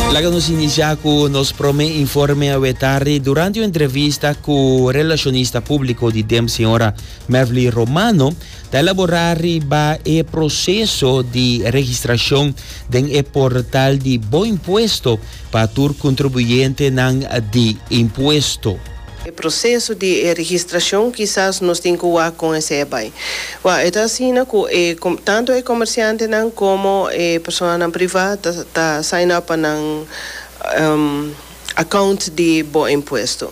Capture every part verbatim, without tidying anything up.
Laga nos inicia cu nos prome informe awe tardi. Durante un entrevista cu relacionista publico di D E M, señora Mervly Romano, ta elabora riba e proceso di registracion den e portal di Bo Impuesto pa tur contribuyentenan di impuesto. E proceso di registracion kisas nos tin cu con esey bay. Wa, e ta asina cu e, tanto e comerciantenan como e personanan priva ta, ta sign up pa nan um, account di Bo Impuesto.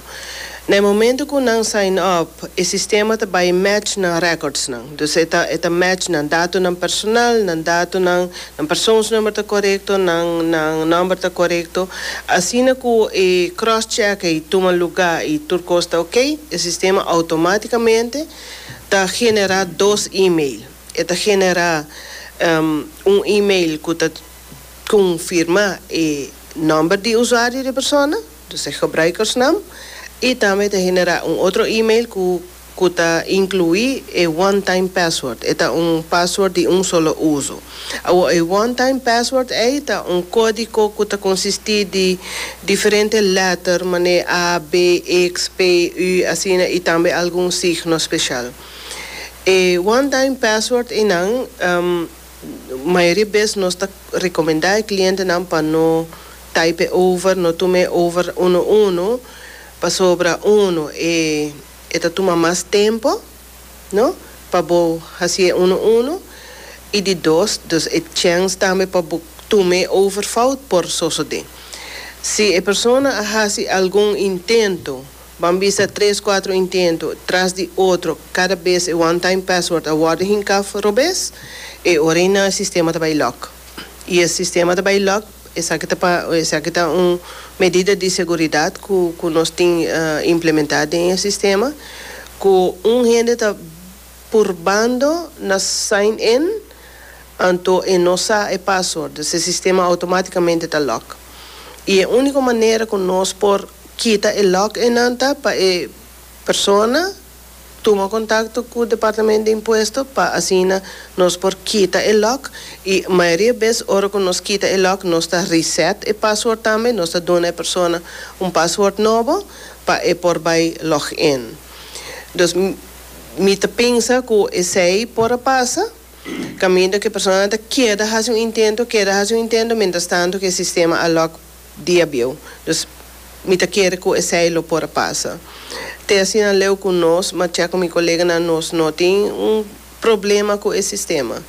Na momento cu nan sign up, e sistema ta bay match nan records nan. Dus e ta, e ta match nan datonan personal, nan datonan, nan persoonsnummer ta corecto, nan, nan number ta corecto. Asina cu e cross-check y tuma luga y tur cos ta ok, e sistema automaticamente ta genera dos e-mail. E ta genera um, un e-mail cu ta confirma e number di usuario di persona, dus e gebruikersnaam, y tambe ta genera un otro e-mail cu, cu ta inclui e one-time password. E ta un password di un solo uso. E one-time password ey ta un codigo cu ta consisti di diferente letter, manera A, B, X, P, U, asina, y tambe algun signo special. E one-time password ey, um, mayoria bes nos ta recomenda e clientenan pa no type over, no tuma over uno uno, pasobra uno e e ta tuma mas tempo, no? Pa bo haci uno uno y di dos, dus e chance tambe pa bo tuma over fout por sosode. Si e persona haci algun intento, ban bisa tres, cuater intento tras di otro, cada bes e one time password a wordo hinca robes, e ora e sistema ta bay lock. Y e sistema ta bay lock, esaki ta pa esaki ta un medida di seguridad cu cu nos tin uh, implementa den sistema, cu un hende ta purbando na sign in, anto e no sa e password, e sistema automaticamente ta lock. Y e unico manera cu nos por kita e lock ey ta pa e persona tuma contacto cu e departamento di impuesto pa asina nos por kita e lock. Y mayoria bes ora cu nos kita e lock, nos ta reset e password tambe, nos ta duna e persona un password nobo pa e por bay login. Dus mi ta pensa cu esey por pasa caminda cu e persona ta keda haci un intento, keda haci un intento, mientras tanto cu e sistema a lock dia bieu. Dus mi ta kere cu esey lo por pasa. Te asina leu cu nos, ma cu mi coleganan, nos no tin un problema cu e sistema.